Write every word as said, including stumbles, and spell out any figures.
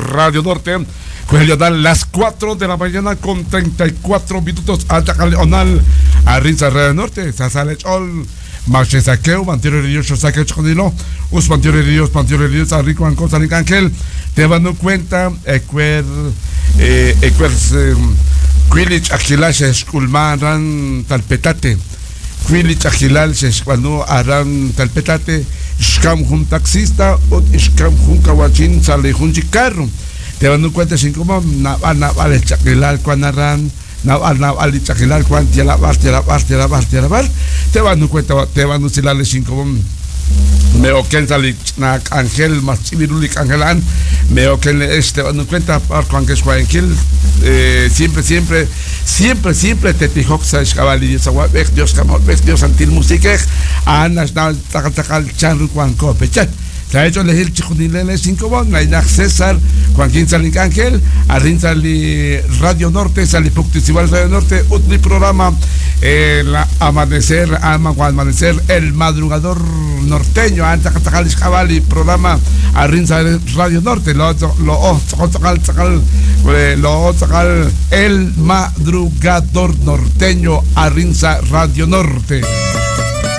Radio Norte, las cuatro de la mañana con treinta y cuatro minutos. Onal, Arrinza Radio Norte, Sasale Chol, Machesaqueo, Mantiero de Dios, Saqueo Chocodilo, Us Mantiero de Dios, Mantiero de Dios, Arrico Anco, San Ángel, te van cuenta, Ecuer, Ecuer, Quilich, Aquilash, Esculman, Ran, Talpetate, Quilich, Aquilal, Sescuano, Aran, Talpetate, Xcam jun taxista, ut Xcam jun kawachin, sale jun chicarro. Te van cuenta sin como nabal nabal chakilal cuanaran, nabal nabal chakilal cuan tialabar tialabar tialabar tialabar. Te van cuenta te van usilale sin como me oken sali nak ángel más chivirulik angelan me oken este van cuenta par cuan que es eh, siempre siempre siempre siempre te tijoxa xcabali Dios aguabej Dios camolbej Dios antil musiquej anas na tacal chan cuan copechat. Se ha hecho elegir Chijunilele cinco bon, Nainaj César, Joaquín Salic Ángel, Arrin Sali Radio Norte, Sali Pucticival Radio Norte, Utli programa, el amanecer, ama amanecer, el madrugador norteño, Anta Cabali, programa Arrin Sali Radio Norte, lo lo lo el madrugador norteño, Arrinza Radio Norte.